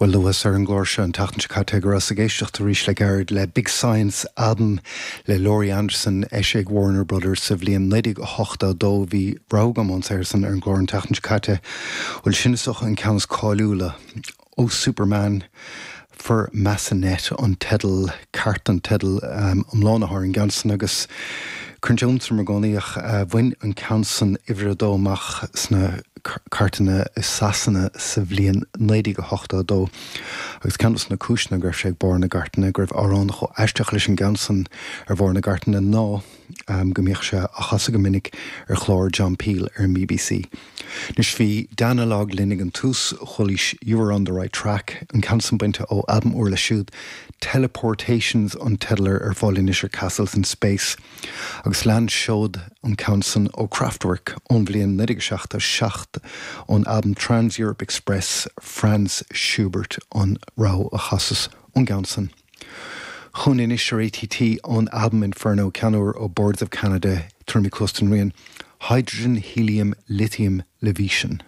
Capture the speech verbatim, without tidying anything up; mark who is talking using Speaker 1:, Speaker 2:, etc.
Speaker 1: Well luas ar an gclár seo an tseachtain seo caite go rabhas ag éisteacht arís le gairid le Big Science album le Laurie Anderson eisithe ag Warner Brothers sa bhliain naoi déag ochtó a dó bhí rogha agam air san ar an gclár an tseachtain seo caite bhuel sin is dócha an ceann is cáiliúla ó Superman for Massenet an teideal ceart an teideal um, iomlán ar an gceann san agus cuireann sé iontas orm i gcónaí ach uh, bhain an ceann san uimhir a dó amach sna cairteanna i Sasana sa bhliain naoi déag ochtó a dó agus ceann de na cúiseanna go raibh sé ag barr na gcairteanna go raibh amhrán chomh aisteach leis an gceann san ar bharr na gcairteanna ná um, go mbíodh sé á chasadh go minic ar chlár John Peel ar an BBC. Anois bhí Danalogue linn ag an tús chualaís You Were on the Right Track an ceann san bainte ó album úr leo siúd Teleportations an teideal ar fáil anois ar Castles in Space agus lean seod an ceann san ó Kraftwerk ón bhliain naoi déag seachtó seacht ón album Trans Europe Express Franz Schubert an rogha a chasas ón gceann san. Chugainn anois ar ATT ón album Inferno ceann úr ó Boards of Canada tuairimí cloistin rian Hydrogen Helium Lithium Leviation.